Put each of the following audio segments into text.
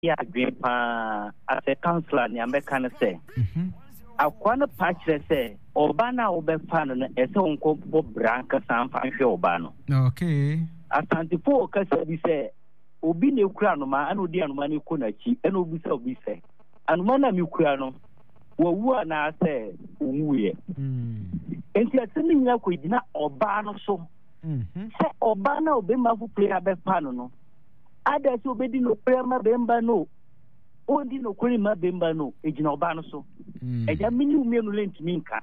Yɛ adwene paa. As a councillor, nea mɛka ne sɛ, mhm. akoa no pa kyerɛ sɛ ɔba no a wobɛfa no no, ɛsɛ wonkɔbɔ bra ankasa mfa nhwɛ ɔba no. Okay. Asantefo wɔ kasa bi sɛ obi na ekura anoma ɛna odi anoma no kɔ n'akyi ɛna obisa obi sɛ anoma no a mekura no wawu anaasɛ owuiɛ. Hmm. Nti asɛm no nyinaa kɔgyina ɔbaa no so mhm. sɛ ɔbaa no a ɔbɛma foforɔ yi abɛfa no no Ada sɛ obedi nokorɛ ama bɛmba no o, ɔndi nokorɛ mma bɛmba no o, ɛgyina ɔbaa no so. Mm. Agya, me ne wo mmienu le ntumi nka.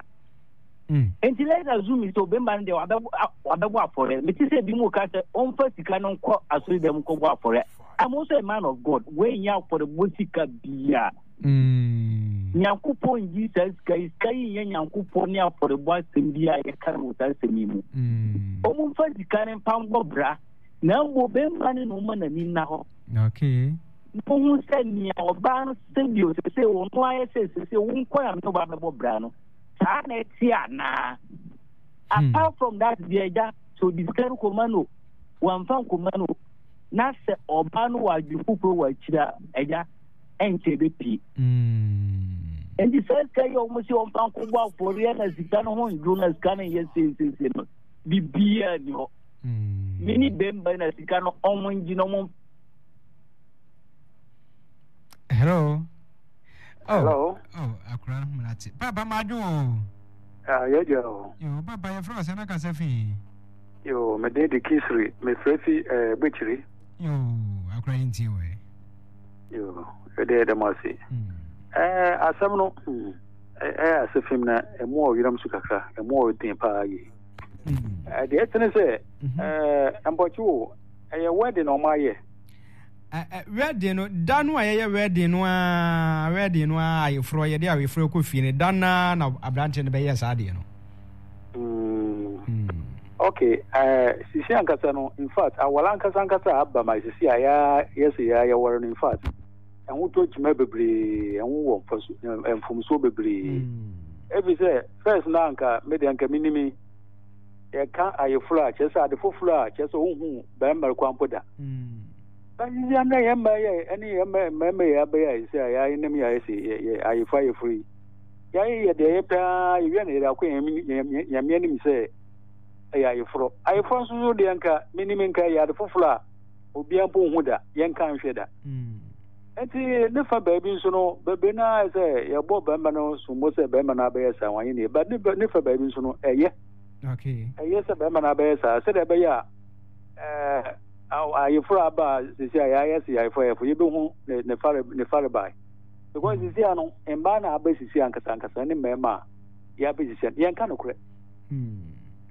Mm. Enti let's assume sɛ ɔbɛmba no deɛ wabɛbɔ afɔreɛ. Mete sɛ bi mu ka sɛ ɔmfa sika no nkɔ asɔre dɛm nkɔbɔ afɔreɛ. I'm also a man of God. Wei nyɛ afɔrebɔ sika bia. Mm. Nyankopɔn nyi saa sika yi. Sika yi nyɛ Nyankopɔn ne afɔrebɔ asɛm bi a yɛka no wɔ saa asɛm yi mu. Mm. Ɔmo mfa sika no mfa mbɔ bra. Na mmom bɛmma no na ɔma n'ani nna hɔ. Okay. Na ɔhu sɛ nea ɔbaa no sɛ bio sɛ sɛ ɔno ayɛ sɛ sɛ sɛ wo nkɔ na mene ɔbaa bɛbɔ bra no saa na ɛte anaa. Hmm. Apart from that deɛ agya sɛ ɔde sika no kɔma no wamfa nkɔma no na sɛ ɔbaa no wɔ adwene foforɔ wɔ akyiri a agya ɛnkyɛ bɛpie. Hmm. Nti sɛ sika yi a wɔn sɛ wɔmfa nkɔbɔ afɔreɛ na sika no ho ndwo na sika no nyɛ seeseesei no biribiara ni hɔ. Me ne bɛmba na sika no ɔmo ngye na ɔmo. Hello. Oh, Hello. Oh, akura no humina te. Papa ma adwo o. Ah, yɛ gya o. Yo, papa yɛ frɛ ɔsɛ na kasa fi. Yo, me den de Kisiri, me frɛ fi eh Bechiri. Yo, akura yi ntie wɔ. Yo, yɛ de yɛ dɛm ase. Hmm. Eh, asɛm no, hmm, eh, ase fim na emu ɔyeram so kakra, emu ɔden paa yi. Mm. Deɛ ɛte ne sɛ mm-hmm. mpɔkye o ɛyɛ wedding na wɔn ayɛ. Wedding no da no a yɛyɛ wedding no aa wedding no aa ayeforɔ yɛde ayeforɔ kɔ fie no da no ara na aberanteɛ no bɛyɛ saa adeɛ no. Mm. Mm. Okay, uh, sisi ankasa no in fact awala ankasa ankasa aba ma sisi a ya yɛsɛ ya yɛwɔre no in fact ɛho tɔ kyima bebree ɛho wɔ mfomsoɔ bebree. Mm. Ebi sɛ First na anka me deɛ anka menim yi, yɛka ayeforo a kyerɛ sɛ ade foforɔ a kyerɛ sɛ wohu barima kwan mpo da. Sisi anɛ yɛn mmaa yɛ ɛne yɛn mmaa mmarima yɛ abɛyɛ a sɛ yɛayɛ nam yɛ ayɛ sɛ yɛ ayeforo ayeforo yi. Yɛayɛ yɛ deɛ yɛpɛ ara yɛwia na yɛde akɔ yɛn nyame anim sɛ ɛyɛ ayeforɔ. Ayeforɔ nso so deɛ nka menim nka ɛyɛ ade foforɔ a obiara mpo nhu da, yɛnka nhwɛ da. Nti ne fa baabi nso no, bebree no ara sɛ yɛbɔ barima no sombo sɛ barima no abɛyɛ saa wanyɛ ne but ne fa baabi nso no ɛyɛ. Okay. Ɛyɛ sɛ barima no abɛyɛ saa sɛdeɛ ɛbɛyɛ a ɛɛ ayeforo aba a sisi a yɛayɛ sɛ ayeforo ayeforo yɛbɛhu ne ne fare ne fare bae. Because sisi a no mmaa na aba sisi ankasa ankasa ne mmarima a yɛabɛ sisi a yɛnka nokorɛ.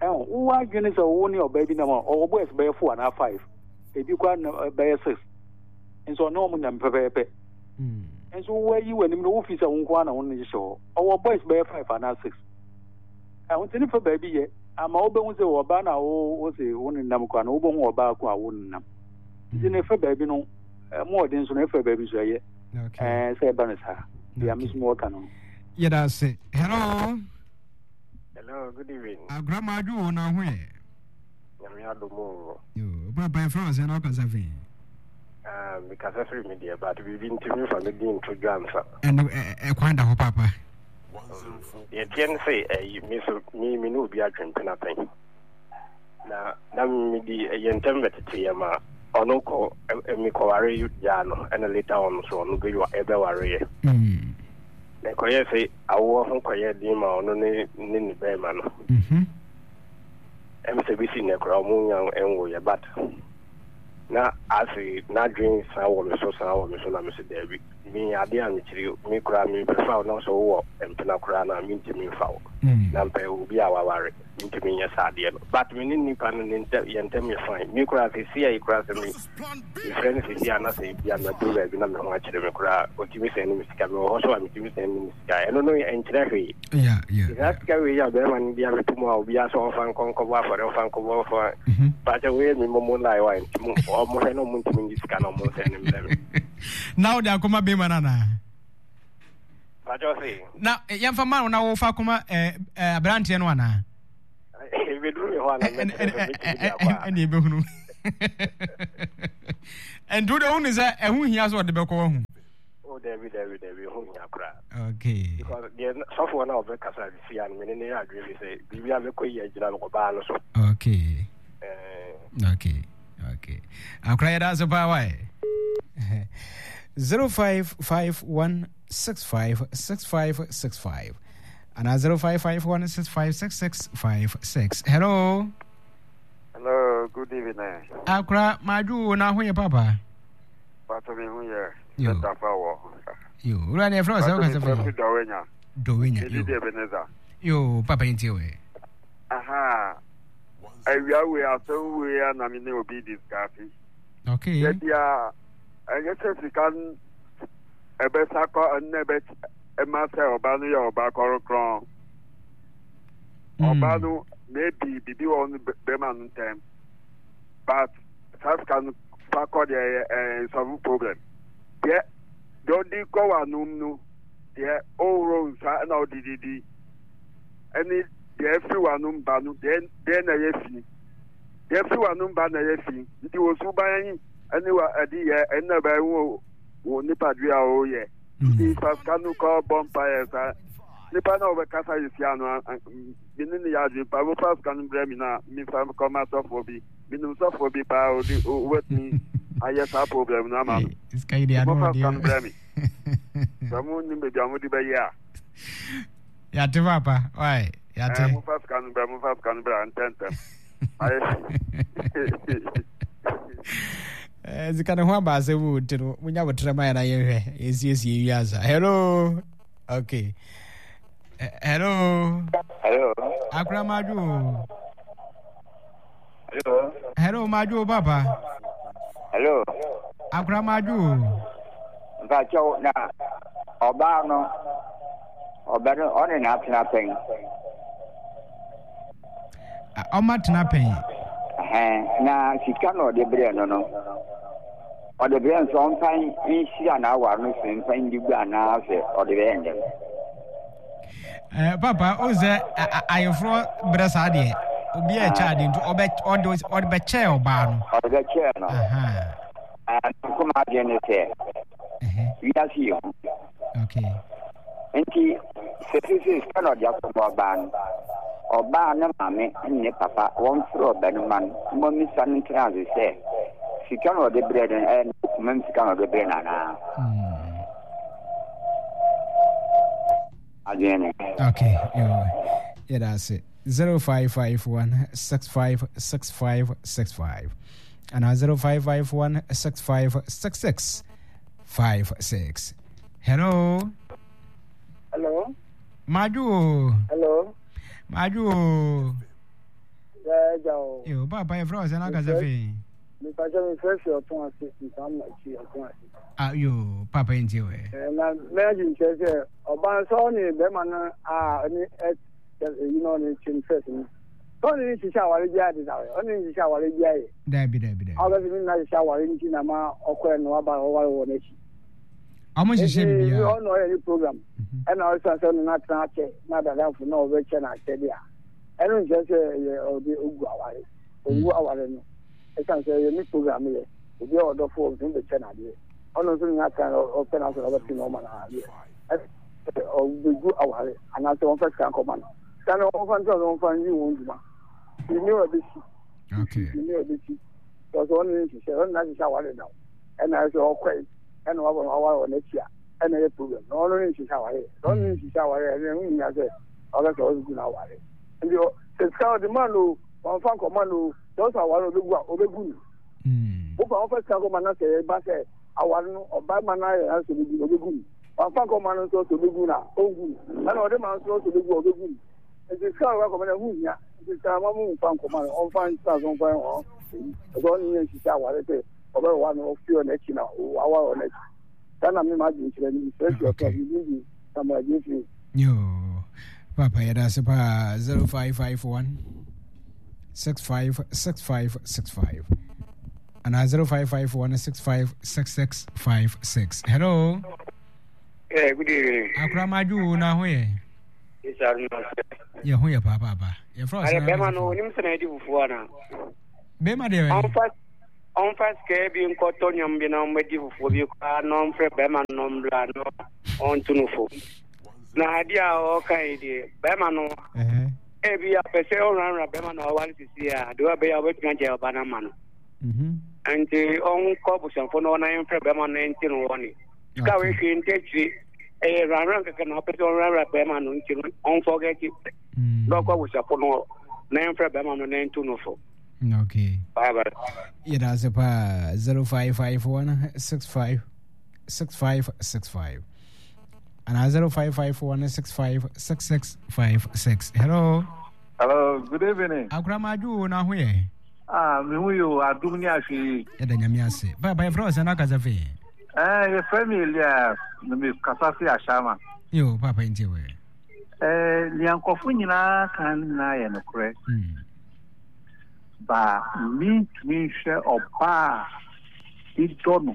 Ɛho wowɔ adwene sɛ wo ne ɔbaa bi nam a ɔwɔ boys bɛyɛ four anaa five ebi koraa bɛyɛ six. Nso ɔne wɔn nam pɛpɛɛpɛ. Nso woayi w'anim no wofi sɛ wo nko ara na wo ne hyehyɛ hɔ. Ɔwɔ boys bɛyɛ five anaa six. Ɛho nti ne fa baabi yɛ ama wobɛhu sɛ ɔbaa no a wo wo se wo ne nam koraa no wobɛhu ɔbaa ko a wo ne nam. Nti ne fa baabi no ɛmo ɔden nso no ɛfa baabi nso ɛyɛ. Ɛɛ sɛ ɛba no saa. Deɛ me nso mewɔ ka no. Yɛda ase. Hello. Hello, good evening. Agora ma adwo wo na ho yɛ. Nyame adom o. Yo, papa yɛfrɛ wo sɛ na wokasa fi. Ah, mekasa firi me deɛ, but biribi nti memfa me din nto dwa nsa. Ɛno ɛkwan da hɔ papa. Deɛ ɛteɛ ne sɛ ɛyi me so me me ne obi adwempena pɛn. Na na medi ɛyɛ ntɛm bɛtete yɛ ma ɔno kɔ mekɔware gyaa no ɛna later on so ɔno bɛwareɛ. Mm. Na ɛkɔyɛɛ sɛ awoɔ ho kɔyɛɛ den ma ɔno ne ne ne bɛrima no. Mm-hmm. Ɛm sɛ bɛsi nnɛ koraa ɔmo nya nwoeɛ but na ase n'adwen san wɔ me so san wɔ me so na me se daabi me adeɛ a mekyiri me koraa me prefer wo na sɛ wowɔ mpena koraa na mentumi mfa wo mm. na mpɛ obi a waware mentumi nyɛ saa adeɛ no but me ne nipa no ne ntɛm yɛn ntɛm yɛ fine me koraa sɛ si ayi koraa sɛ me mefrɛ no sɛ si a na sɛ ebia maduru baabi na me ho akyerɛ me koraa ɔtumi sɛn ne me sika mewɔ hɔ so a metumi sɛn ne me sika ɛno no ɛnkyerɛ hwee Saa sika wei a bɛrima no de abɛto mu a obiara sɛ ɔmfa nkɔ nkɔbɔ afɔre ɔmfa nkɔbɔ ɔmfa mhm. pakyɛ wei mi momo lie wa nti mo ɔmo hwɛ na ɔmo ntumi ngye sika na ɔmo nsɛn ne mbrɛ me. Na wode akɔma bɛrima no anaa? Pakyɛ ɔse. Na eh, yɛmfa ma wo na wofa akɔma eh, eh, aberanteɛ no anaa? Ebeduru me hɔ a na mɛkyerɛ sɛ mɛtumi de akɔ a. Ɛne ɛbɛhunu. Nti wode wohu sɛ ɛho hia sɛ ɔde bɛkɔ wahu? Oh, dabi dabi dabi, ɛho hia koraa. Okay. Because deɛ sɔfoɔ no a ɔbɛkasa sisi a no me ne ne yɛ adwene fi sɛ biribi a bɛkɔ yi agyina no ɔbaa no so. Okay. Eh. Okay. Okay. Akora yɛda ase paa wae. 0551 656565 anaa 0551 656656. Hello. Hello, good evening. Akora, madwo na ho yɛ papa. Pato me ho yɛ. Yo. Tafa wɔ. Yo, wura ne ɛfrɛ sɛ wokasa fɛ. Dɔwenya. Dɔwenya. Yo. Ebi Ebenezer. Yo, papa ntie wɛ. Aha. Awia wei asɛm wei a na me ne obi discuss. Okay. Yɛ bia ɛnyɛ sɛ sika ɛbɛsa kɔ ɛnna ɛbɛ ɛma sɛ ɔba no yɛ ɔba kɔrɔkrɔn. Ɔba no maybe bibi wɔ no bɛma no ntɛm but saa sika no fa kɔ deɛ ɛyɛ ɛɛ nsɔfo problem. Deɛ deɛ ɔde kɔ w'anom no deɛ ɔworo nsa ɛna ɔde didi ɛne deɛ ɛfiri w'anom ba no deɛ deɛ na ɛyɛ fi deɛ ɛfiri w'anom ba na ɛyɛ fi nti wɔ suban ɛne wa ɛde yɛ ɛna bɛn wo wo nipadua a ɔyɛ nti fa sika no kɔ bɔ mpaeɛ saa nipa na ɔbɛkasa yɛ sia no me ne ne yɛ adwene pa mofa sika no brɛ me na mefa kɔma sɔfoɔ bi menim sɔfoɔ bi paa ɔde wobɛtumi ayɛ saa problem no ama no mofa sika no brɛ me sɛ mo nim baabi a mode bɛyɛ a yɛate papa wae yɛate mofa sika no brɛ mofa sika no brɛ ntɛntɛm ayɛ Eh, sika ne ho aba asɛm o nti no monya botrɛ ma yɛna yɛhwɛ yɛsiesie wiasa hello okay eh, hello hello akora madwo o hello hello madwo o papa hello akora madwo o mpakyɛw na ɔbaa no ɔbɛ no ɔne n'atena pɛn Ɔma tena pɛn. Ɛhɛn, na sika na ɔde brɛɛ no no, ɔde brɛɛ no sɛ ɔmfa nhyira n'awar no so mfa ndi gua anaasɛ ɔde bɛyɛ ndɛm. Eh, papa, o sɛ ayeforɔ brɛ saa deɛ, obi a ɛkyɛ adeɛ nti ɔbɛ ɔde ɔde bɛkyɛɛ ɔbaa no. Ɔde bɛkyɛɛ no. Nkoma adwene ne sɛ, wiase yɛ hu. Okay. Nti sɛ sisi sika na ɔde akɔma ɔbaa no, ɔbaa no maame ne ne papa wɔmfrɛ ɔbarima no ma ɔmmisa no ntena ase sɛ sika na ɔde brɛ no ɛyɛ ne komam sika na ɔde brɛ no anaa. Adwene no. Okay, yo, yɛda ase. 0551 656565 anaa 0551 6566 56. Hello. Hello. Madwo. Hello. Madwo. Yeah, o. Yo, papa, yɛ frɛ ɔsɛ n'akasa fɛ. Mipatwa mi frɛ fi ɔtɔn ase, ntam na akyi ɔtɔn ase. Ah, yo, papa yi nti wɛ. Eh, na mɛgye nkyerɛ sɛ ɔbaa sɛ ɔne bɛrima no a ɔne ɛ ɛyi na ɔne kyɛm fɛs no. Sɛ ɔne ne hyehyɛ aware biara de da ɔne ne hyehyɛ aware biara yɛ. Dabi dabi dabi. Ɔbɛsɛ ne nna hyehyɛ aware nti na ma ɔkɔɛ no waba ɔware wɔ n'akyi. Ɔmo nhyehyɛ biribiara. Ɔno ɔyɛ ne program. Mhm. Ɛna ɔsan sɛ ɔno n'atena akyɛ na adadafo na ɔbɛkyɛ n'akyɛ de a. Ɛno nkyerɛ sɛ ɛyɛ ɔde ogu aware. Ogu mm. aware no. Ɛsan sɛ ɛyɛ ne program yɛ. Obi a ɔdɔfo ɔbɛtumi bɛkyɛ n'adeɛ. Ɔno nso ne n'atena ɔpɛ n'asɛ ɔbɛte na ɔma n'adeɛ. Ɔbɛgu aware anaasɛ wɔmfa sika nkɔma no. Sika no wɔmfa ntena sɛ wɔmfa nyi wɔn dwuma. Nni ɔbɛsi. Nni ɔbɛsi. Sɛ ɔno ne nhyehyɛ ɔno n'ahyehyɛ aware da. Ɛna ɛsɛ ɔkɔe. Ɛna wabɔ no aware wɔ n'akyi a ɛna ɛyɛ problem na ɔno ne nhyehyɛ aware sɛ ɔno ne nhyehyɛ aware ɛna ɛho hia sɛ ɔbɛ sɛ ɔbɛgu no aware nti sɛ sika ɔde ma no ɔmfa nkɔma no sɛ ɔsɛ aware ɔbɛgu a ɔbɛgu no wofa wɔfa sika kɔma no sɛ ɛba sɛ aware no ɔba ma no ayɛ sɛ ɔbɛgu no ɔbɛgu no wamfa nkɔma no nso sɛ ɔbɛgu no a ɔngu no ɛna ɔde ma nso sɛ ɔbɛgu a ɔbɛgu no nti sika ɔba kɔma no ɛho hia nti sika ma mo mfa nkɔma no ɔmfa nsika so ɔmfa ɔn ɛsɛ ɔne yɛ nhyehyɛ aware sɛ ɔbɛwa no ɔfi ɔno akyi na wawa ɔno akyi saa na mema adwenkyerɛ no mesrɛ fi ɔtɔ biribi bi na mo adwen firi. Yo, papa yɛda ase paa 0551 656565 anaa 0551 656656. Hello. Yeah, good evening. Akora madwo na ho yɛ. Yɛ ho yɛ paa paapa. Yɛfrɛ ɔsɛ. Bɛma no onim sɛ na ɛdi fufuo ana. Bɛma deɛ. Ɔmfa. Ɔmfa sika bi nkɔtɔ nneɛma bi na ɔmmɛdi fufuo bi koraa na ɔmfrɛ bɛrima no na ɔmmra na ɔnto no fo. Na adeɛ a ɔreka yi deɛ, bɛrima no, ebi a ɔpɛ sɛ ɔwurawura bɛrima no a ɔware sisi a, deɛ ɔbɛyɛ a ɔbɛtumi agyae ɔba no ama no. Nti ɔnkɔ abusuafoɔ no hɔ na yɛmfrɛ bɛrima no nti no hɔ ne. Sika wei hwee nti akyire, ɛyɛ wurawura kɛkɛ na ɔpɛ sɛ ɔwurawura bɛrima no nti no ɔmfɔgɛte. Na ɔkɔ abusuafoɔ no hɔ na yɛmfrɛ bɛrima no na nto no fo. Okay. Bye bye. Yɛda ase paa 0551 65 6565 anaa 0551 65 6656. Hello. Hello, good evening. Akoramadwo o na ho yɛ. Ah, me ho yɛ o, adom ne ahwɛ yi. Yɛda Nyame ase. Papa yɛfrɛ wo sɛ na akasa fi? Eh, yɛfrɛ me Elias, na me kasa fi Ashama. Yo, papa ntie wɛ. Eh, nea nkurɔfo nyinaa ka no nyinaa yɛ nokorɛ. Ba mentumi nhwɛ ɔbaa a medɔ no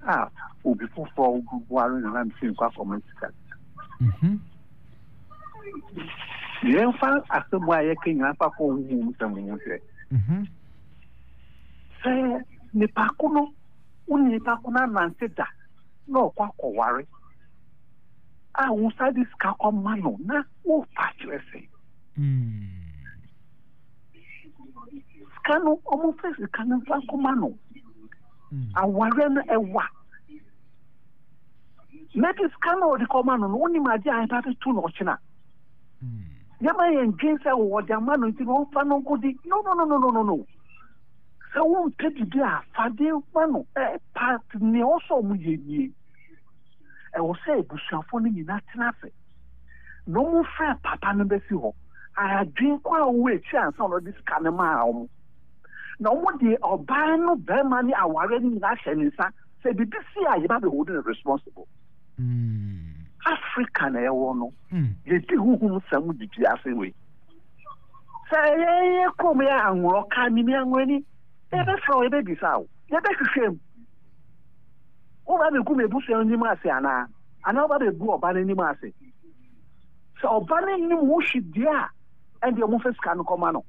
a obi foforɔ ware no na mese nkɔ akɔma sika. Yɛmfa asɛm a yɛka nyinaa fa kɔ honhom sɛm ho hwɛ. Sɛ nipa ko no, wo ne nipa ko no anante da na ɔkɔ akɔware a wo nsa de sika kɔma no na wofa kyerɛ sɛ sika no ɔmofɛ sika no mfa nkɔma no awareɛ no ɛwa mɛde sika no ɔde kɔma no no wonim adeɛ a ɛba bɛto no ɔkyena yɛma yɛn dwen sɛ wɔde ama no nti no ɔmfa no nkɔdi no no no no no no sɛ wompɛ biribi a fade ma no ɛpa nea ɔsɔ ɔmo yɛ nie ɛwɔ sɛ abusuafoɔ no nyinaa tena ase na ɔmo frɛ papa no bɛsi hɔ adwen kɔ a ɔwɔ akyi ansa na ɔde sika no maa ɔmo na ɔmo de ɔbaa no bɛrima ne awareɛ no nyinaa hyɛ ne nsa sɛ biribi si a yɛba bɛ hold no responsible. Africa na ɛwɔ no yɛdi huhum sɛm didi ase wei sɛ yɛyɛ kurom yɛ anworɔ ka mimi anworɔni yɛbɛfrɛ wo yɛbɛbisa wo yɛbɛhwehwɛ mu woba bɛgu m'abusua anim ase anaa anaa woba bɛgu ɔba no anim ase sɛ ɔba no nim ho hwe deɛ a ɛndeɛ ɔmofɛ sika no kɔma no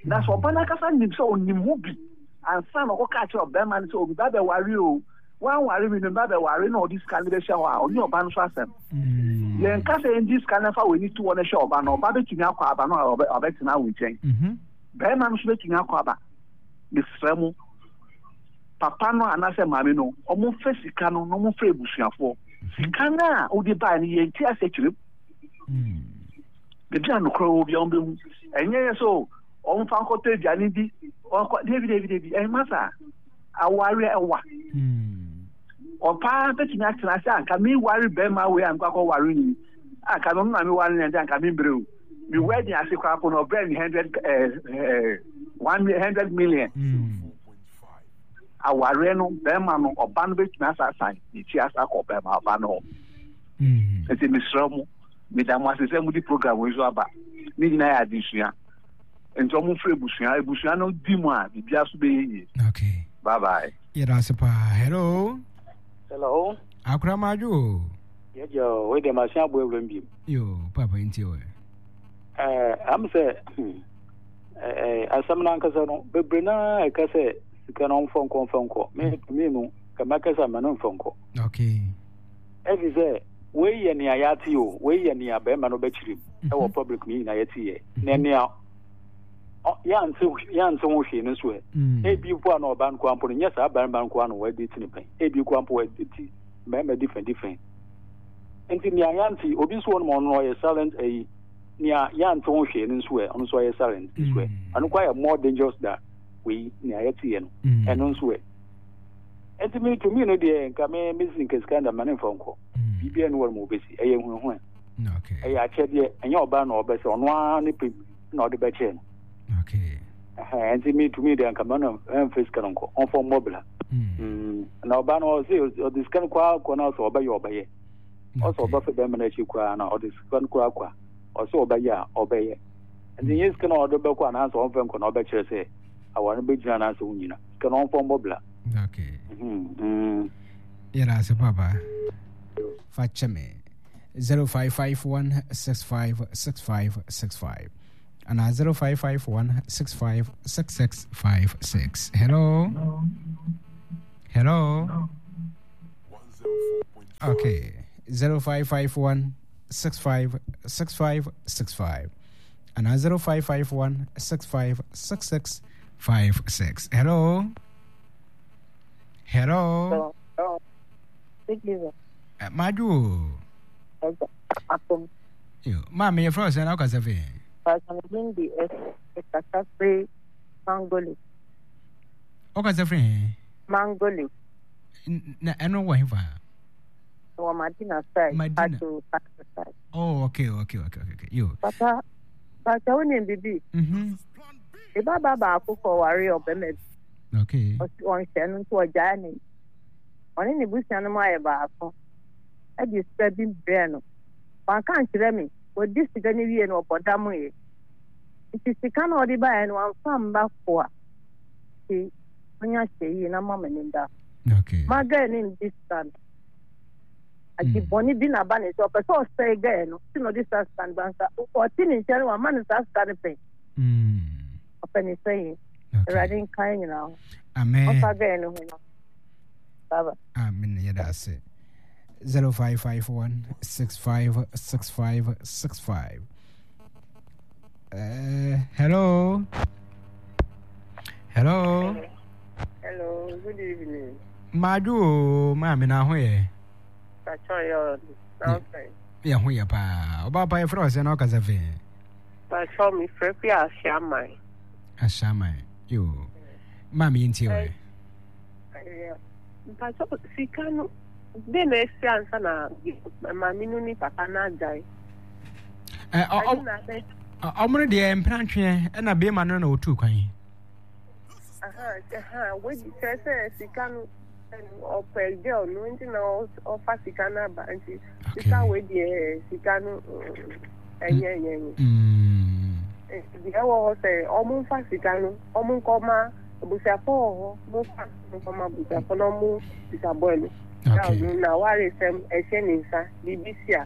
na sɛ ɔba no ankasa nim sɛ ɔnim ho bi ansa na ɔkɔka kyerɛ ɔbɛrima no sɛ obi ba bɛware o wanware me no ba bɛware na ɔde sika no bɛhyɛ hɔ a ɔne ɔba no so asɛm yɛnka sɛ yɛngye sika no fa w'ani to hɔ no hyɛ ɔba no ɔba bɛtumi akɔ aba no a ɔbɛtena wo nkyɛn bɛrima no nso bɛtumi akɔ aba mesrɛ mo papa no anaasɛ maame no ɔmomfa sika no na ɔmomfa abusuafoɔ sika no a wode bae no yɛnti asɛ kyerɛ mu baabi a nokorɛ wɔ bia wɔbɛhu ɛnyɛ yɛ sɛ ɔmfa nkɔtɔ aduane bi ɔnkɔ dabi dabi dabi ɛmma saa awareɛ ɛwa ɔpaa bɛtumi atena ase anka meware bɛrima wei a mekɔ akɔware ni anka no na meware no ɛnde anka membrɛ o me wedding ase koraa po no ɔbrɛ me hundred 100 million awareɛ no bɛrima no ɔba no bɛtumi asasan ne ti asa akɔ bɛrima ɔba no hɔ nti mesrɛ mo meda mo ase sɛ mode program wei so aba ne nyinaa yɛ adesua nti ɔmo firi ebusua ebusua no di mu a biribiara so bɛyɛ yie. Okay. Bye bye. Yɛda ase paa. Hello. Hello. Akoramadwo o. Yɛgya o, wei deɛ masen aboa awuram biem. Yo, papa nti o. Ɛɛ, am sɛ ɛɛ asɛm no ankasa no bebree naa ɛka sɛ sika no ɔmfa nkɔ ɔmfa nkɔ. Me me no kɛmɛ kɛsɛ mɛ no mfa nkɔ. Okay. Ɛfi sɛ wei yɛ nea yɛate o, wei yɛ nea bɛrima no bɛkyerɛ mu ɛwɔ public no nyinaa yɛte yɛ. Na nea yɛante yɛante ho hwee no nso ɛ. Ebi mpo a na ɔbaa no koraa mpo no nyɛ saa barima no koraa na wɔadi ti ne pɛn. Ebi koraa mpo wɔadi ti mmarima different different. Nti nea yɛante obi nso wɔ no ma ɔno ɔyɛ silent ayi nea yɛante ho hwee no nso ɛ ɔno nso ɔyɛ silent nso ɛ. Ɛno koraa yɛ more dangerous than wei nea yɛte yɛ no. Ɛno nso ɛ. Nti me to me no deɛ nka me me si nka sika nda ma ne nfa nkɔ. Biribiara ni wɔn mu obesi ɛyɛ huahua. Ɛyɛ akyɛdeɛ ɛnyɛ ɔbaa na ɔbɛsɛ ɔno ara ne pɛ na ɔde bɛkyɛ no. Ɛhɛn nti me to me deɛ nka mɛ no ɛnfa sika no nkɔ ɔnfa mmɔ bla. Na ɔbaa no ɔse ɔde sika no kɔ akɔ na ɔsɛ ɔbɛyɛ ɔbɛyɛ. Ɔsɛ ɔbɛfɛ bɛrima no akyi koraa na ɔde sika no kɔ akɔ a ɔsɛ ɔbɛyɛ a ɔbɛyɛ. Nti nyɛ sika no ɔde bɛkɔ anaasɛ ɔmfa nkɔ na ɔbɛkyerɛ sɛ aware no bɛgyina anaasɛ wonyina. Sika no ɔmfa mmɔ bla. Okay. Yɛda ase papa. Fa kyɛ me. 0551 656565. anaa 0551 65 66 56. Hello? Hello? Okay. 0551 65 65 65 anaa 0551 65 66 56. Hello? Hello? Eh, Madwo. Yo, maame yɛfrɛ wo sɛn na wokasa fi? Wokasa firi he? Mangoli. Na ɛno wɔ hefa? Wɔ Madina side. Madina. Pato, Pato side. Oh, okay. Yo. Papa, Papa, wo nim bibi? Mhm. Me ba ba baako kɔ ware ɔbɛma bi. Okay. Ɔsi ɔnhyɛ no nti ɔgyaa ne. Ɔne ne busua no mu ayɛ baako. Ɛde sika bi brɛ no. Wanka nkyerɛ me. Ɔdi sika no wie no ɔbɔ dam yɛ. Nti sika no ɔde baeɛ no wamfa mma koa. Nti onya hyɛ yie na ma m'ani da. Okay. Ma gɛɛ ne ndi sika no. Adi bɔne bi na ba ne sɛ ɔpɛ sɛ ɔsɛe gɛɛ no nti na ɔde saa sika no ba nka ɔte ne nkyɛn no wama no saa sika no pɛn. Ɔpɛ ne sɛ yie. Awurade nka yɛn nyinaa ho. Amen. Ɔmfa gɛɛ no ho no. Baba. Amen. Yɛda ase. 0551 656565. Hello. Hello. Hello, good evening. Madu, maame na ho yɛ. Pacho yɛ ɔde. Yɛ ho yɛ paa. Ɔba pa yɛ frɛ ɔsɛ na ɔkasa fɛ. Pacho mi frɛ fi Ahyiaman. Ahyiaman. Yo. Maame yɛ ntie wɔ. Mpacho sika no de na esi ansa na maame no ne papa no agyae. Ɔmo no deɛ mprantweɛ ɛna bɛrima no na ɔtuu kwan. Wadi kyerɛ sɛ sika no ɔpɛ girl no nti na ɔfa sika no aba nti sika wei deɛ sika no ɛnyɛ ɛnyɛ ɛnyɛ. Deɛ ɛwɔ hɔ sɛ ɔmo nfa sika no ɔmo nkɔma abusuafo wɔ hɔ ɔmo nfa nkɔma abusuafo na ɔmo sika bɔɔ no. Girl no na awaresɛm ɛhyɛ ne nsa biribi si a.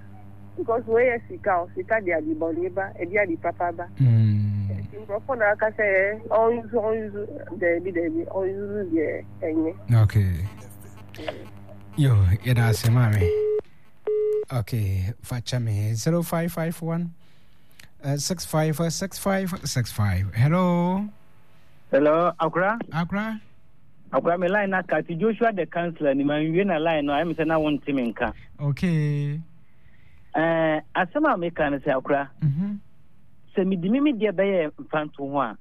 Because wei yɛ sika o, sika de ade bɔne ba, ɛde ade papa ba. Nti nkurɔfoɔ na aka sɛ ɔnsusu ɔnsusu daabi daabi ɔnsusu deɛ ɛnyɛ. Okay. Yo, yɛda ase maame. Okay, fa kyɛ me 0551 656565. Hello. Hello, Akra. Akra. Akora me line na cut Joshua the counselor ni manwie na line no ayɛ me sɛ na wonte me nka. Okay. Eh, asɛm a meka no sɛ akora. Mm-hmm. Sɛ medi me me deɛ bɛyɛ mfanto ho a.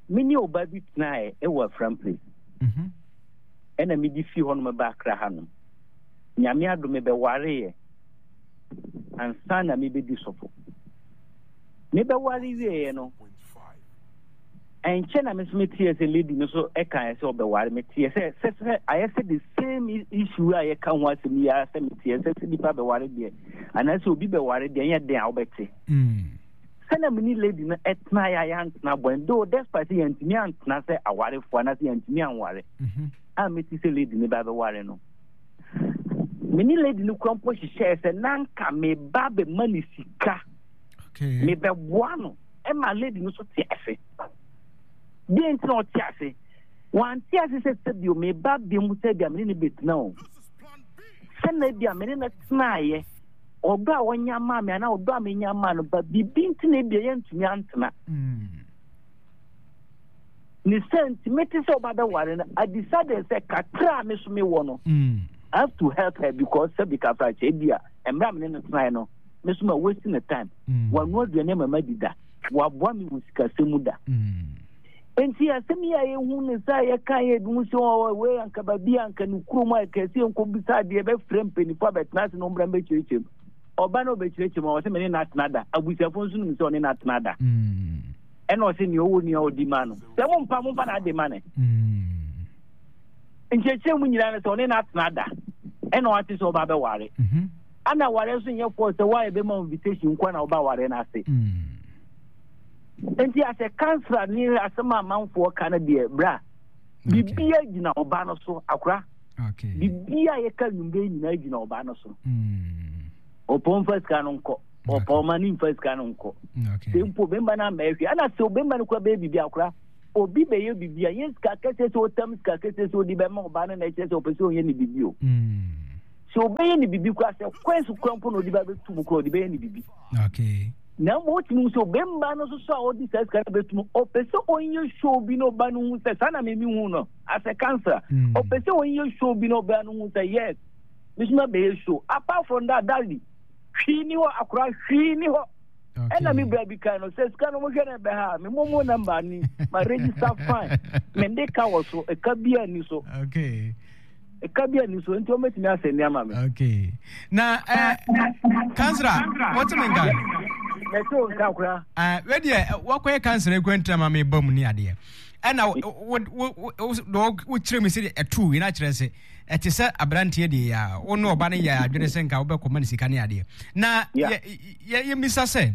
Me ne ɔba bi tenaeɛ ɛwɔ Afram place. Mm-hmm. Ɛna medi fi hɔ nom ba Accra ha nom. Nyame adom mebɛwareeɛ ansa na mebɛdi sɔfo. Mebɛware wieeɛ no ɛnkyɛ na me nso meteɛ sɛ lady no so ɛkaeɛ sɛ ɔbɛware meteɛ sɛ sɛ sɛ ayɛ sɛ the same issue a yɛka ho asɛm yi ara sɛ meteɛ sɛ sɛ nipa bɛware deɛ anaasɛ obi bɛware deɛ ɛnyɛ den a wobɛte sɛnea me ne lady no ɛtena yɛ a yɛantena bɔn though despite sɛ yɛntumi antena sɛ awarefoɔ anaasɛ yɛntumi anware a mete sɛ lady no ba bɛware no me ne lady no kura mpo hyehyɛɛ sɛ na nka meba bɛma ne sika mebɛboa no ɛma lady no so te ase. Deɛ nti na ɔte ase? Wante ase sɛ sɛbio meba bi mu sɛ bia mene no bɛtena o. Sɛ na bia mene no tenaeɛ, ɔdɔ a ɔnya maa me anaa ɔdɔ a menya maa no ba biribi nti na ebia yɛntumi antena. Ne sɛ nti mete sɛ ɔba bɛware no, I decided sɛ kakra a me so mewɔ no, I have to help her because sɛbi kafra kyɛ ebia mmerɛ a mene no tenaeɛ no, me so ma waste ne time. Wanoa aduane ama madi da. Waboa me wɔ sikasɛm mu da. Nti asɛm yi a yɛhu ne sɛ yɛka yɛ ebi mu sɛ ɔwɔ wei anka baabi anka ne kurom a kɛse nkɔbisa adeɛ bɛfrɛ mpanimfoɔ abɛtena ase na ɔmmra mbɛkyerɛkyerɛ mu. Ɔba na ɔbɛkyerɛkyerɛ mu a ɔsɛ me ne no atena da. Abusuafoɔ nso nim sɛ ɔne no atena da. Ɛna ɔsɛ nea ɔwɔ nea ɔdi ma no. Sɛ mompa momfa n'ade ma no. Nkyerɛkyerɛ mu nyinaa no sɛ ɔne no atena da. Ɛna ɔate sɛ ɔba bɛware. Ana aware nso nyɛ force sɛ woayɛ bɛma invitation nkoa na woba aware no ase. Nti asɛ kansra ne asɛm a amanfoɔ ka no deɛ bra bibia gyina ɔba no so akora. Bibia yɛka nwummerɛ nyinaa gyina ɔba no so. Ɔpɔn fa sika no nkɔ. Ɔpa ɔma ne mfa sika no nkɔ. Sɛ mpo bɛmba no ammɛyɛ hwee ana sɛ bɛmba no kora bɛyɛ biribi akora obi bɛyɛ biribi a yɛ sika kɛseɛ sɛ ɔtam sika kɛseɛ sɛ ɔde bɛma ɔbaa no na ɛkyerɛ sɛ ɔpɛ sɛ ɔyɛ ne biribi o. Sɛ ɔbɛyɛ ne biribi kora sɛ kwan so kora mpo na ɔde ba bɛtu mu kora ɔde bɛyɛ ne biribi. Na mmom wotumi hu sɛ ɔbɛmba no nso so a ɔde saa sika no bɛtu mu ɔpɛ sɛ ɔnyɛ show bi na ɔba no hu sɛ saa na memi hu no as a counselor ɔpɛ sɛ ɔnyɛ show bi na ɔbaa no hu sɛ yes mesoma bɛyɛ show apart from that daddy hwee ni hɔ akora hwee ni hɔ ɛna me bra bi kan no sɛ sika no mohwɛ no ɛbɛ ha me momo number ni ma register fine mende ka wɔ so ɛka bi ani so okay ɛka bi ani so nti wɔmɛtumi asɛ nneɛma me okay na eh, kansra wote me nka mɛte wo nka koraa eh, wedeɛ wakɔyɛ kansra ekura ntina ma meba mu ne adeɛ ɛna wokyerɛ me sɛ ɛtoo yi na kyerɛ sɛ ɛte sɛ aberanteɛ deɛ yɛ a wo ne ɔba no yɛ adwene sɛ nka wobɛkɔma no sika ne adeɛ na yɛmmisa sɛ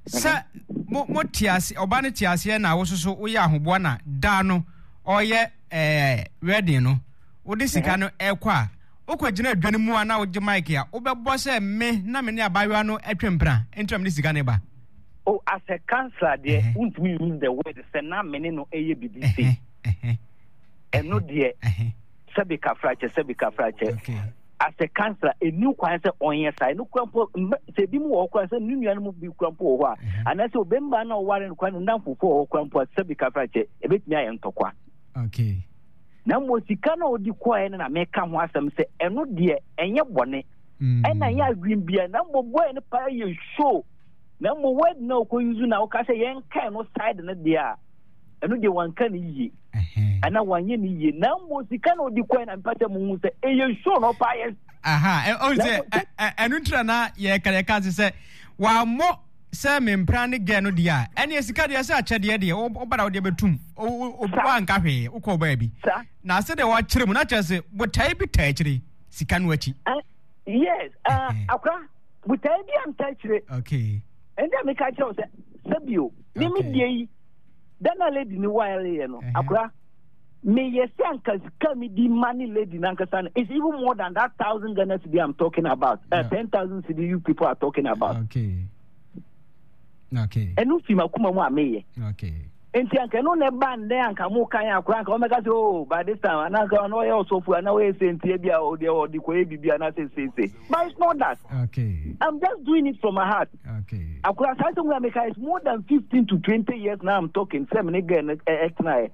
sɛ mo te ase ɔba no te aseɛ na wo soso woyɛ ahoboa na daa no ɔyɛ ɛɛ wedding no wode sika no ɛkɔ a wokɔgyina adwa no mu a na wogye mic a wobɛbɔ sɛ me na me ne abayewa no atwa mpena nti na mede sika no ba. Oh, as a counselor deɛ wontumi use the word sɛ na me ne no ɛyɛ biribi sei ɛno deɛ sɛbi kafrakyɛ sɛbi kafrakyɛ as a counselor ɛni kwan sɛ ɔnyɛ saa ɛno kura mpo sɛ ebi mu wɔ hɔ kura sɛ ne nua no mu bi kura mpo wɔ hɔ a mhm. anaasɛ obɛmba na ɔware no kura ne nnamfofoɔ wɔ hɔ kura mpo a sɛbi kafrakyɛ ɛbɛtumi ayɛ ntɔkwa okay na mmom sika na ɔdi kɔɛ no na meka ho asɛm sɛ ɛno deɛ ɛnyɛ bɔne mm. ɛna ɛnyɛ adwene bia na mmom bɔɛ no paa yɛ show na mmom word na ɔkɔ yuzu na ɔka sɛ yɛnkae no side no deɛ a ɛno deɛ wanka ne yie ana wanyɛ ne yie na mmom sika na ɔdi kɔɛ na mpa sɛ muhu sɛ ɛyɛ show na ɔpa yɛ aha ɔn sɛ ɛno ntira na yɛka yɛka se sɛ wammɔ sɛ mempra ne gɛ no deɛ a ɛneɛ sika deɛ sɛ akyɛdeɛ deɛ woba na wodeɛ bɛtum woanka hwee wokɔɔ baabi na sɛ deɛ wakyerɛ mu na kyerɛ sɛ botae bi taa akyire sika no akyi yes akora botae bi anta akyire okay ɛnna meka kyerɛ wo sɛ sɛbio me me deɛ yi da na lady ni wareɛ no akora meyɛ sɛ anka sika mi di ma ne lady nankasa no it's even more than that thousand Ghana cedi I'm talking about uh, 10,000 cedi you people are talking about okay okay ɛno fi makoma mu a meyɛ okay nti anka ɛno na ɛba ndɛ anka mo kan akora anka wɔmɛka sɛ oh by this time anaa anka ɔno ɔyɛ ɔsɔfo anaa ɔyɛ sɛnti bi a ɔdeɛ ɔde kɔyɛ biribi anaa sɛ sɛnsɛ but it's not that okay I'm just doing it from my heart okay akora saa sɛ mu ameka is more than 15 to 20 years now I'm talking sɛ mene girl no ɛtenaeɛ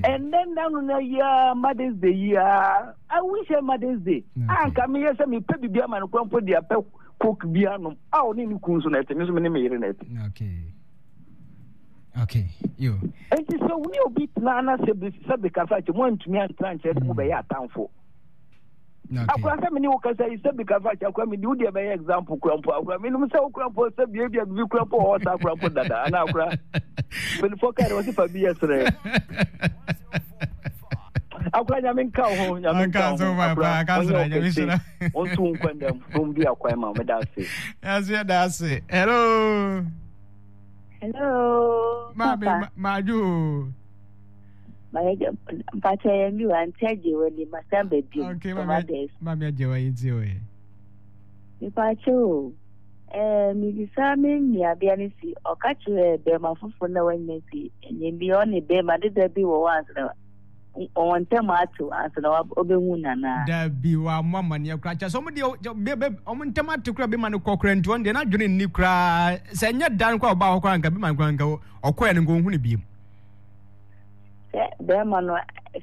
and then na no na yia Mother's Day yia I wish her Mother's Day anka meyɛ sɛ mepɛ biribi ama no kora mpo de apɛ coke bi anom a ɔne ne kun so na ɛte me so me ne me yere na ɛte okay okay yo nti sɛ wo ne obi tena na sɛ sɛ bɛkasa kyɛ mo antumi antena nkyerɛ sɛ mobɛyɛ atamfo akora sɛ mene wo kasa yi sɛ bɛkasa kyɛ akora mede wo deɛ bɛyɛ example kora mpo akora menom sɛ wo kora mpo sɛ biabia biribi kora mpo wɔ hɔ saa kora mpo dada anaa akora mpanimfoɔ kae dɛ wɔse fa bi yɛ serɛ akora nyame nka wo ho nyame nka wo ho akora ɔnyɛ wo kɛse ɔnto wo nkwa ndam na ɔmbi akwan ma meda ase yɛso yɛda ase hello Hello. Maame, Papa. madwo. Mpakyɛ yɛn bi wa nti agye wɔ ni masan ba bi. Okay, maame, maame agye wɔ yi ti o yɛ. Mpakyɛ o. Ɛɛ mibisa me nuabea no si ɔka kyerɛ bɛrima foforɔ na wanya si ɛnyɛ bi ɔne bɛrima deda bi wɔ hɔ ansa na wɔn ntam atew ansa na ɔbɛhu no anaa? Dabi, wammɔ amanneɛ koraa. Kyerɛ sɛ wɔn deɛ wɔn ntam ate koraa bɛma no kɔ koraa nti wɔn deɛ n'adwene nni koraa. Sɛ ɛnyɛ da no koraa ɔbaa hɔ koraa nka bɛma no koraa nka ɔkɔɛ no nka ɔnhu no biem. Sɛ bɛrima no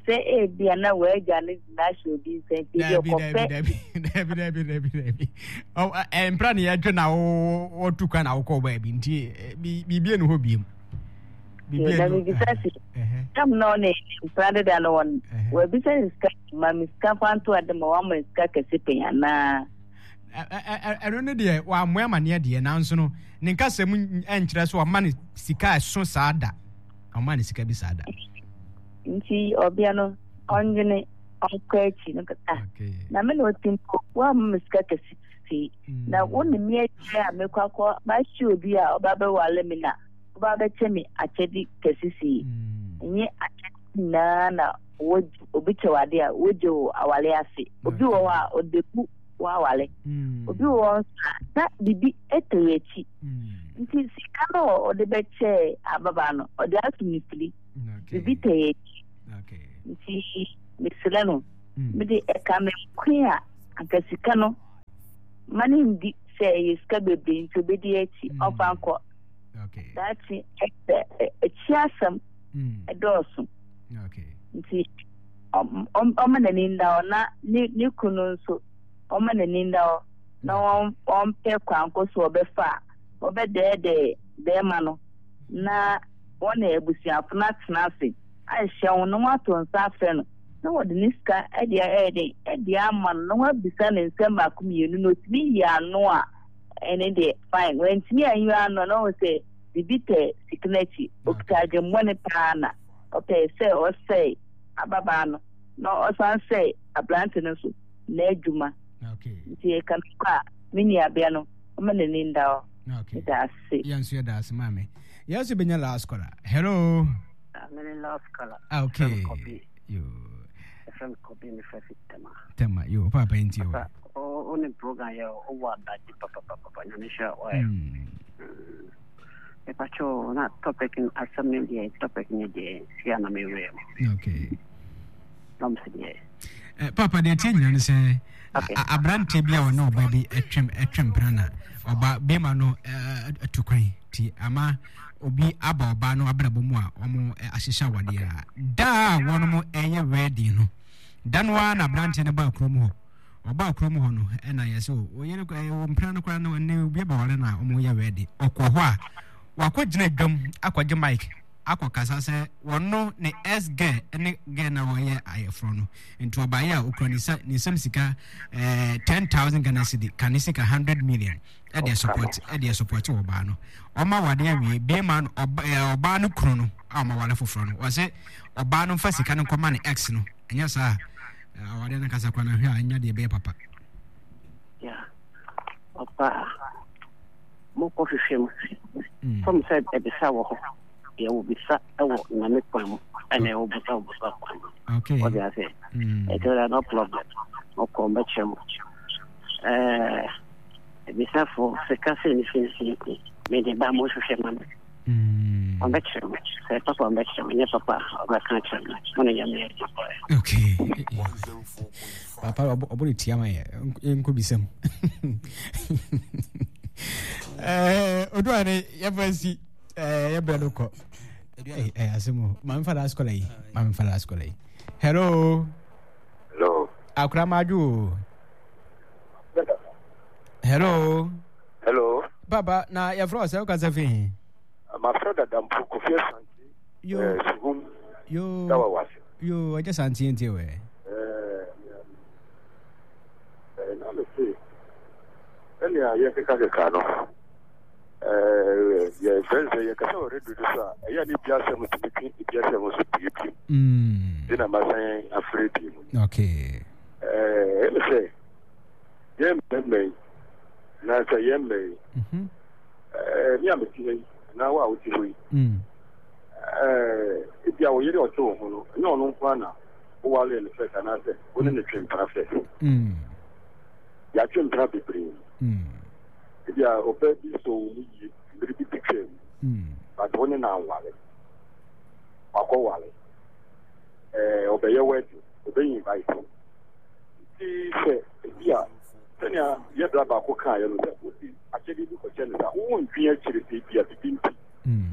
sɛ ebia na w'agya no gyina ahyɛ obi nsa nti ebi ɔkɔpɛ. Dabi dabi dabi dabi dabi mpira ne yɛdwe na wɔtu kwan na wokɔ baabi nti biribi enu hɔ biem. Na mebisa si tam na ɔne mpena deda no wɔn wabisa ne sika ma me sika fa nto ade ma wama sika kɛse pɛn anaa. Ɛno ne deɛ wammoa amaneɛ deɛ nanso no ne nkasa mu nkyerɛ so ɔma ne sika ɛso saa da ɔma ne sika bi saa da. Nti ɔbea no ɔndwene ɔnkɔ akyi no kasa na me na ɔti mpo woamma me sika kɛse sei na wo ne me akyire a mekɔ akɔ mahyɛ obi a ɔba bɛwale me na Woba abɛkyɛ me akyɛde kɛse sei. Ɛnyɛ akyɛde nyinaa na wɔgye obi kyɛ wo ade a wogye wo aware ase. Obi wɔ hɔ a ɔde bu. woaware. Obi wɔ hɔ nso a, na biribi tɔ akyi. Nti sika no a ɔde bɛkyɛɛ ababaa no, ɔde ato ne firi. Biribi tɔ akyi. Nti mesrɛ no, mede ɛka me nko a, anka sika no ma no ndi sɛ ɛyɛ sika bebree nti obedi akyi, ɔmfa nkɔ. Daakye akyi asɛm ɛdɔɔso. Nti ɔmma n'ani nda hɔ na ne kunu nso ɔmma n'ani nda hɔ na wɔmpɛ kwan ko so ɔbɛfa a wɔbɛdɛɛdɛɛ bɛrima no na wɔne abusuafo no atena ase ahyɛ wɔn na wɔato nsa afrɛ no na wɔde ne sika de ayɛ den de ama no na wɔabisa no nsɛm baako mmienu na otumi yi ano a ɛne deɛ fine wantumi anyi ano na wɔn sɛ biribi tɛ sika no akyi okita adwemmɔne paa na ɔpɛe sɛ ɔsɛe ababaa no na ɔsan sɛe aberante no nso n'adwuma. Nti ɛka me kɔ a, me nuabea no, ɔma n'ani nda hɔ. Meda ase. Yɛn nso yɛda ase maame. Yɛn nso bɛnya last caller. Hello. Ah, mene last caller. Ah, okay. Yo. Ɛfrɛ me Kobi, mefrɛ fi Tema. Tema, yo, papa nti o. O ne program yɛ o wɔ adagye papapapa nyame hyɛ ɔyɛ. Mepakyɛw na topic no asɛm no deɛ topic no deɛ sia na mewura mu. Okay. Na mo sɛ deɛ. Eh, papa deɛ ɛteɛ nyina ne sɛ aberanteɛ bi a ɔne ɔba bi ɛtwem ɛtwem mpena na ɔba bɛrima no atu kwan ti ama obi aba ɔbaa no abrabɔ mu a wɔn ahyehyɛ awadeɛ a da a wɔn ɛyɛ wedding no da no ara na aberanteɛ no baa kurom hɔ Ɔbaa kurom hɔ no, ɛna yɛ sɛ o yere wɔ mpena no koraa no ɛnɛ obi abɛware no a wɔyɛ wɛde. Ɔkɔ hɔ a, wakɔgyina dwam akɔgye mic akɔkasa sɛ wɔno ne ex girl ne girl na wɔyɛ ayɛforɔ no. Nti ɔbaeɛ a okura ne nsa ne nsam sika 10,000 Ghana cedi ka ne sika 100 million ɛde support ɛde support ɔbaa no. Ɔma wade awie bɛrima no ɔbaa no kunu no a ɔma wale foforɔ no wɔsɛ ɔbaa no mfa sika no nkɔma ne ex no ɛnyɛ saa awadeɛ no ankasa koraa no ahwɛ a ɛnya deɛ ɛbɛyɛ papa. Yeah. Ɔba mokɔ hwehwɛ mu. Fam sɛ ɛbisa wɔ hɔ. Deɛ wɔbisa wɔ nyame kwan mu ɛna ɛwɔ bisa wɔ bisa kwan mu. Okay. Wɔde ase. Ɛtɔ da no problem. Ɔkɔ mbɛkyerɛ mu. Ɛɛ ebisafo sika sɛ ne finfin mede ba mo hwehwɛ ma me. Ɔbɛkyerɛ mo. Sɛ papa ɔbɛkyerɛ mo, nyɛ papa ɔbɛka akyerɛ mo. Mo ne Nyame yɛ adwuma. Okay. Papa ɔbɔ ne tia ma yɛ nkɔ bisam. Eh, odu ane yɛfa si eh yɛbrɛ no kɔ. Eh, eh asɛm o. Ma mfa last caller yi. Ma mfa last caller yi. Hello. Hello. Akora madwo o. Hello. Hello. Papa, na yɛfrɛ wo sɛ wokasa fi he? Mafrɛ dada mpo Kofi Asante. Yo. Eh, Suhum. Yo. Dawa wase. Yo, ɔgye sante ntie wɛ. Eh, eh, na me se, ɛnea yɛkeka keka no, eh, yɛfrɛ sɛ yɛkasa wɔ radio no so a, ɛyɛ ne bi asɛm tumi twe ebi asɛm nso pue bio. Nti na masan afrɛ bio mu. Okay. Eh, ɛne sɛ, yɛn mmarima yi, anaasɛ yɛn mma yi, mhm. eh, me a mete ha yi, anaa wo a wote hɔ yi, mm. eh, ebi a wo yere ɔte wo ho no, ɛnyɛ ɔno nko ara na wowaree no fɛs anaasɛ wo ne no twe mpena fɛs. Mm. Yɛatwe mpena bebree. Mm. Ebi a ɔbaa bi sɔ wo mu yie, mmere bi betwaa mu, but wo ne no anware. Wakɔware. Eh, ɔbɛyɛ wedding, ɔbɛyɛ invite. Nti sɛ ebi a sɛnea yɛ bra baako kaeɛ no sɛ wode akyɛdeɛ bi kɔkyɛ no sɛ wondwen akyire sɛ ebi a bibi nti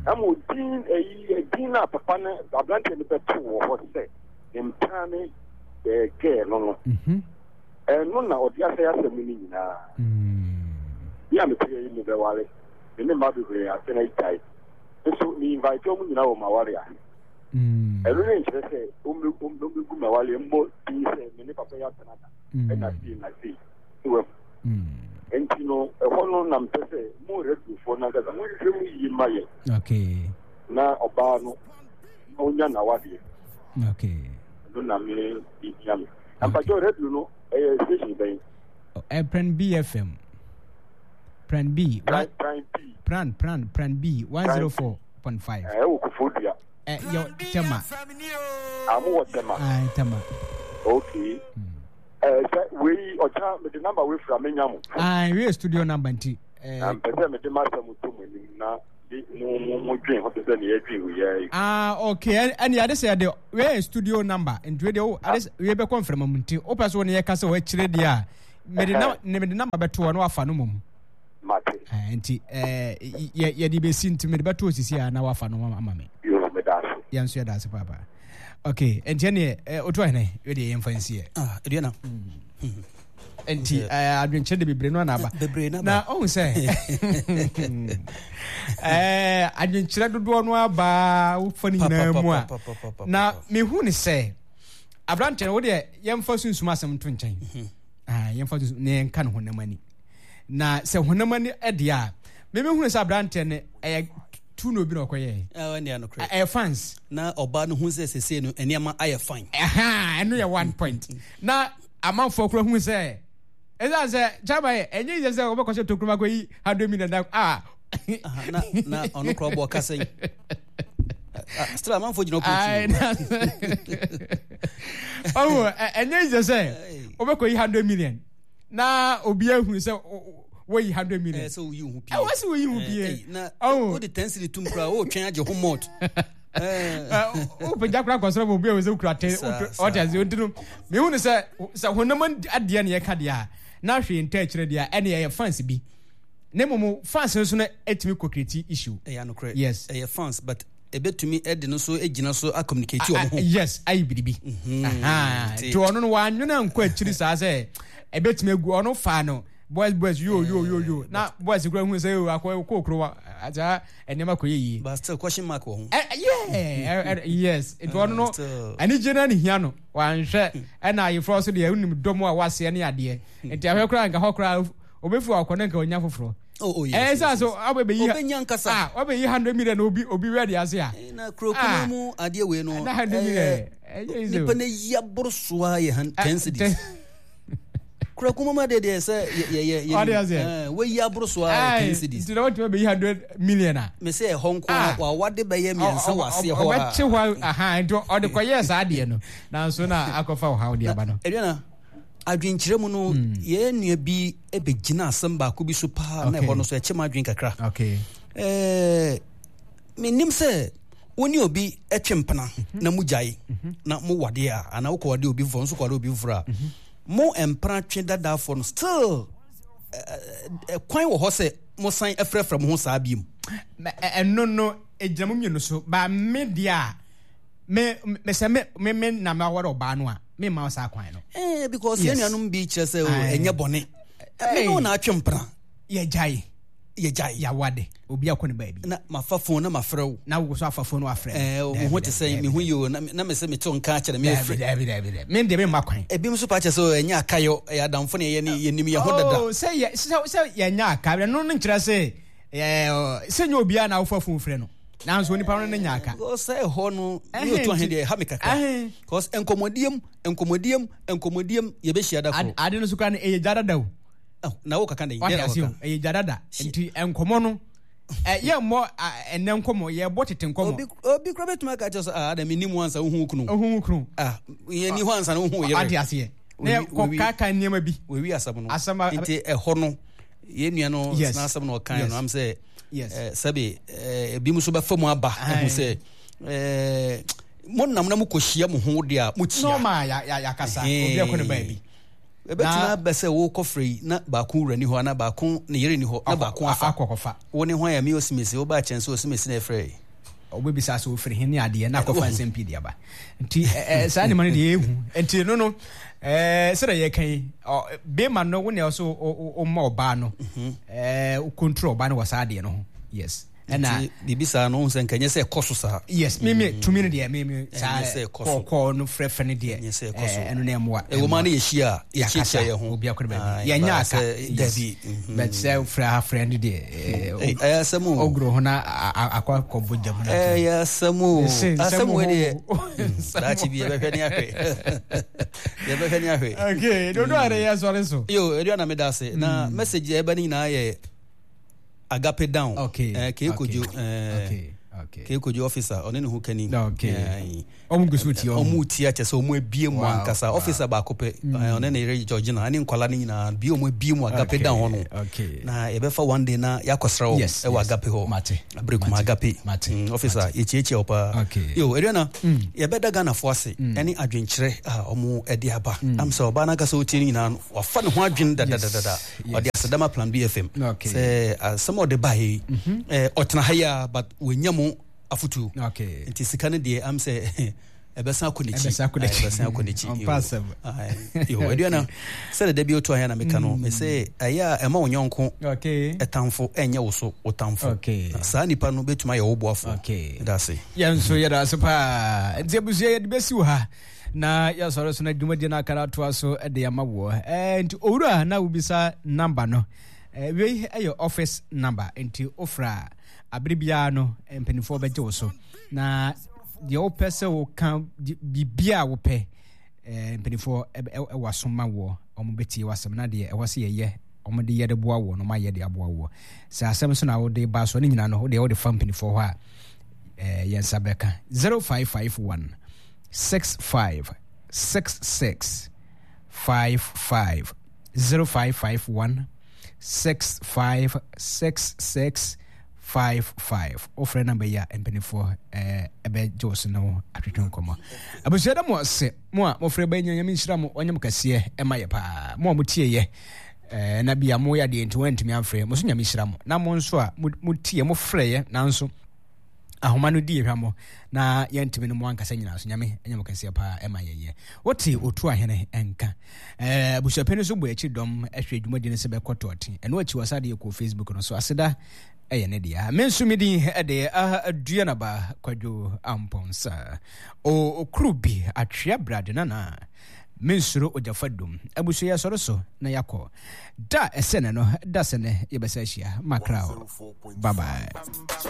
na ma odin ayi edin no a papa no aberanteɛ no bɛto wɔ hɔ sɛ ne mpena ne gɛɛ no no ɛno na ɔde asɛe asɛm no nyinaa bi a mete yi mebɛware me ne mma bebree asɛn agyae nso me invite wɔn nyinaa wɔ m'aware ase ɛno ne nkyerɛ sɛ ɔmmɛgu m'aware mmɔ din sɛ me ne papa yi atena da ɛna sei na sei so wahu nti no ɛhɔ no na mpɛ sɛ mo radiofoɔ no ankasa monhwehwɛ mu yie ma yɛ okay. na ɔbaa no na ɔnya n'awadeɛ okay. ɛno na me ɛhia me na mpakyɛ radio no ɛyɛ station bɛn? Pran B FM Pran B Pran, Pran B Pran Pran Pran B 104.5 ɛwɔ Koforidua yɛ Tema Ah, mo wɔ Tema Ah, Tema okay. Ɛɛ sɛ wei ɔkyena mede number wei fira menya mo. Ah, wei studio number nti. Eh. Na mpɛ sɛ mede m'asɛm to mo anim na de mo mo mo dwen ho te sɛ nea yɛdwen wei ara yi. Ah, okay. Ɛne ade sɛ yɛde wei studio number nti wei deɛ wo ade wei bɛkɔ mframa mu nti wopɛ so wo ne yɛka sɛ wɔakyire deɛ a mede na mede number bɛto hɔ na wafa no mmom. Mate. Eh, nti eh, yɛde bɛsi nti mede bɛto osisi a na wafa no ama me. Yo, meda ase. Yɛn nso yɛda ase paapaa. Okay, nti ɛneɛ eh, otu ahene wei deɛ yɛmfa nsiɛ. Ah, aduana. Mm. Nti eh, adwenkyerɛ de bebree no ana aba. Bebree na Na ɔhu sɛ eh, adwenkyerɛ dodoɔ no aba wofa no nyinaa mu a. Na mehu ne sɛ aberanteɛ no wo deɛ yɛmfa sunsum asɛm nto nkyɛn. Mhm. Ah, yɛmfa sunsum na yɛnka no honam ani. Na sɛ honam ani deɛ a, memehunu sɛ aberanteɛ no ɛyɛ tu na obi na ɔkɔyɛɛ. Ɛyɛ fans. Na ɔbaa no hu sɛ sesei no nneɛma ayɛ fine. Ɛno yɛ one point. Na amanfoɔ kora hu sɛ ɛsiane sɛ kyama yɛ ɛnyɛ yɛ sɛ wɔbɛkɔhyɛ tokuro akɔyi 100 million da ah. Na na ɔno kora ɔbɔ ɔka sɛn. Still amanfoɔ gyina ɔkɔ akyi. Ɔwɔ ɛnyɛ yɛ sɛ wɔbɛkɔyi 100 million na obi ahunu sɛ woyi 100 million. Ɛsɛ woyi ho pie. Ɛwɔ sɛ woyi ho pie. Na wode 10 cedi tum koraa wotwɛn agye ho mɔt. Wopagya koraa kɔsoro ma obi a sɛ wokura te ɔte ase nti no mehu no sɛ sɛ honam adeɛ ne yɛka deɛ a na hwee nta akyerɛ deɛ a ɛne ɛyɛ fans bi na mmom fans no so no ɛtumi kɔ create issue. Ɛyɛ anokorɛ. Yes. Ɛyɛ fans but ɛbɛtumi de no so gyina so a communicate wɔn ho. Yes, ayi biribi. Nti ɔno no wannwene ankɔ akyiri saa sɛ ɛbɛtumi agu ɔno faa no boys boys yo yo yo yo na boys kura hu sɛ akɔ kɔ kuro wa saa nneɛma kɔ yɛ yie. But still question mark wɔ ho. Yeah yes nti ɔno no anigye no ne hia no wanhwɛ ɛna ayeforɔ so deɛ wonim dɔm a waseɛ ne adeɛ nti ahwɛ koraa nka hɔ koraa obefi akɔ ne nka onya foforɔ. Oh, oh, yes, yes, yes. so ɔbɛyi ɔbɛnya nkasa ah ɔbɛyi 100 million obi obi wɛ de ase a. Na kuro kuma mu adeɛ wei no. Na 100 million. Ɛyɛ easy. Nipa na yi aboro so a yɛ 10 cedis. Kuro kuma mu adeɛ deɛ sɛ yɛ yɛ yɛ. Ɔde ase. Wɔyi aboro so a yɛ 10 cedis. Nti na wɔtumi bɛyi 100 million a. Mɛ sɛ ɛhɔ nko a wawade bɛyɛ mmiɛnsa wɔ aseɛ hɔ a. Ɔbɛkye hɔ aha nti ɔde kɔyɛɛ saa adeɛ no nanso na akɔfa ɔhaw de aba no. Aduana adwenkyerɛ mu no hmm. yɛn nua bi bɛgyina asɛm baako bi so paa na ɛhɔ no so ɛkyɛ m adwen kakra eh, menim sɛ wo ne obi twe mpena mhm. na mogyae mhm. na mowadeɛ a anaa wokɔwade obi foforɔ nso kɔwade obi foforɔ a mhm. mo mpena twe dadafoɔ no still eh, eh, kwan wɔ hɔ sɛ mosan frɛfrɛ mo ho saa biom ɛno no ɛgyina mo mmienu so ba me deɛ a me me sɛ me me me na me awɔre ɔbaa no a me mma saa kwan no. Eh, because yɛn nuanom bi kyerɛ sɛ ɛnyɛ bɔne. Me ne wo na atwe mpena. Yɛgyae. Yɛgyae. Yɛawade. Obi akɔ ne baabi. Na mafa phone na mafrɛ wo. Na wo so afa phone wafrɛ. Eh, wo ho te sɛ me ho yi o na me sɛ mete nka akyerɛ me afrɛ. Dabi dabi dabi. Me deɛ me mma kwan. Ebi nso pa kyerɛ sɛ ɛnyɛ akayɔ, ɛyɛ adamfo ne yɛne yɛnim yɛn ho dada. Oh, sɛ yɛ sɛ sɛ yɛnyɛ aka, ɛno no nkyerɛ sɛ sɛ nyɛ obiara na wofa phone frɛ no. Nanso onipa no ne nya aka. Because sɛ ɛhɔ no ne otu ahe deɛ ɛha me kakra. Because nkɔmmɔdiem nkɔmmɔdiem nkɔmmɔdiem yɛbɛhyia da koro. Ade no so koraa no ɛyɛ gya dada o. Na wo kaka dɛn? Wate ase o ɛyɛ gya dada nti nkɔmmɔ no yɛmmɔ ɛnɛ nkɔmmɔ yɛbɔ tete nkɔmmɔ. Obi obi koraa bɛtumi aka kyerɛ sɛ ah ada mennim wo ansa wohu wo kunu. Wohu wo kunu. Ah yɛnni hɔ ansa na wohu wo yere. Wate aseɛ. Na yɛkɔ nneɛma bi. Wɔwi asɛm no. Asɛm nti ɛhɔ no yɛn nua no n'asɛm na ɔkan no am sɛ Yes. Eh, sɛbe eh, ebi nso bɛfa mu aba ahu sɛ eh, monam na mokɔhyia mo ho deɛ a mokyia. Normal ya ya yakasa obi akɔ ne baabi. Ɛbɛtumi abɛ sɛ wokɔfrɛ yi na baako wura ni hɔ anaa baako ne yere ni hɔ na baako afa. Akɔkɔfa. Wo ne hwan a me osimesi wobaa kyɛn sɛ osimesi na ɛfrɛ yi. Wobɛbisa sɛ ofiri he ne adeɛ na akɔfa nsɛm pii de aba. Nti saa nneɛma no deɛ ɛhu. Nti no no sɛdeɛ yɛka yi bema no wo na ɛwɔ so woma ɔbaa no wo control ɔbaa no wɔ saa adeɛ no ho. Yes. Ɛna biribi saa no wohu sɛ nka ɛnyɛ sɛ ɛkɔ so saa. Yes, me me tumi no deɛ me me saa kɔkɔɔ no frɛfrɛ no deɛ ɛno na ɛmmoa. Ɛwɔ mu a na yɛhyia a yɛkyiakyia yɛn ho. Obi akɔ ne baabi. Yɛnyɛ aka. Dabi. But sɛ frɛ ha frɛ no deɛ ɛyɛ asɛm o. Ogoro ho na akɔ akɔbɔ gya mu na. Ɛyɛ asɛm o. Asɛm wei deɛ daakye bi yɛbɛhwɛ ne ahwɛ. Yɛbɛhwɛ ne ahwɛ. Okay, dodo a yɛ sɔre so. Yo, ɛdua na meda ase. Na message ɛba ne nyinaa yɛ agape down. Okay. Eh, ke kojo. Okay. Okay. Kojo officer ɔne ne ho kani. Okay. Ɔmo gu so tie ɔmo. Ɔmo tie akyɛ sɛ ɔmo abie mu ankasa. Officer baako pɛ mm. eh, ɔne ne yere Georgina ɛne nkwala no nyinaa bie ɔmo abie mu agape dan hɔ no. Okay. Na yɛbɛfa one day na yɛakɔsra wɔn ɛwɔ agape hɔ. Mate. Abere kuma agape. Mate. Mm, officer yɛkyiakyia wo paa. Okay. Yo, Aduana, mm. yɛbɛda Ghanafoɔ ase mm. ɛne adwenkyerɛ a ɔmo ɛde aba. Mm. Am sɛ ɔbaa no ankasa ɔtie no nyinaa no wafa ne ho adwene dadadadada. Ɔde aseda ma Plan B FM. Okay. Sɛ asɛm a ɔde baeɛ yi, mm-hmm. eh, ɔtena ha yi a but wɔnya mu afotuo. Okay. Nti sika no deɛ am sɛ ɛbɛsan akɔ n'akyi. Ɛbɛsan akɔ n'akyi. Ɛbɛsan akɔ n'akyi. Ɔmpa asɛm. Yo, Aduana, sɛdeɛ da bi otu ahɛ na meka no, mm. mese ɛyɛ a ɛma wo yɔnko ɛtamfo ɛnyɛ wo so wo tamfo. Okay. Saa nipa no bɛtumi ayɛ wo boafo. Okay. Ɛda ase. Yɛn nso yɛda ase paa. Nti abusua yɛde bɛsi wo ha na yɛsɔre so na dwumadie no akara atoa so de ama woɔ. Eh, nti owura na wobisa namba no. Eh, wei ɛyɛ office number nti wofra a abere biara no mpanimfoɔ bɛgye wo so na deɛ wopɛ sɛ woka biribiara a wopɛ eh, mpanimfoɔ ɛwɔ aso ma woɔ wɔn bɛtie w'asɛm na deɛ ɛwɔ sɛ yɛyɛ wɔn de yɛ de boa woɔ no wɔn ayɛ de aboa woɔ sɛ asɛm so na wode ba so ne nyinaa no wodeɛ wode fa mpanimfoɔ hɔ a eh, yɛn nsa bɛka 0551 65 66 55 0551 65 66 55 wofrɛ namba yi a mpanimfoɔ ɛbɛgye wo so ne wo atwetwe nkɔmmɔ. Abusua da mo ase mo a mofrɛ bɛnya Nyame nhyira mo ɔnyɛ mo kɛseɛ ɛma yɛ paa mo a motieɛ na bia moyɛ adeɛ nti wɔantumi amfrɛ mo so Nyame nhyira mo na mo nso a motie mofrɛeɛ nanso ahoma no di hwammɔ na yɛntumi no mo ankasa nyinaa so Nyame ɛnyɛ mo kɛseɛ paa ɛma yɛyɛ wote otu ahene ɛnka abusuapɛn nso bɔ akyi dɔm ɛhwɛ dwumadi no sɛ bɛkɔ tɔɔten ɛno akyi wɔ sa deɛ kɔ Facebook no so aseda ɛyɛ ne dea me nso me din ɛde Aduanaba Kwadwo Ampɔnsa okuru bi atwea brade nana mensuro ogyafa dum abusua yɛsɔre so na yɛakɔ da ɛsɛ ne no da sɛ ne yɛbɛsɛ ahyia makra bye bye.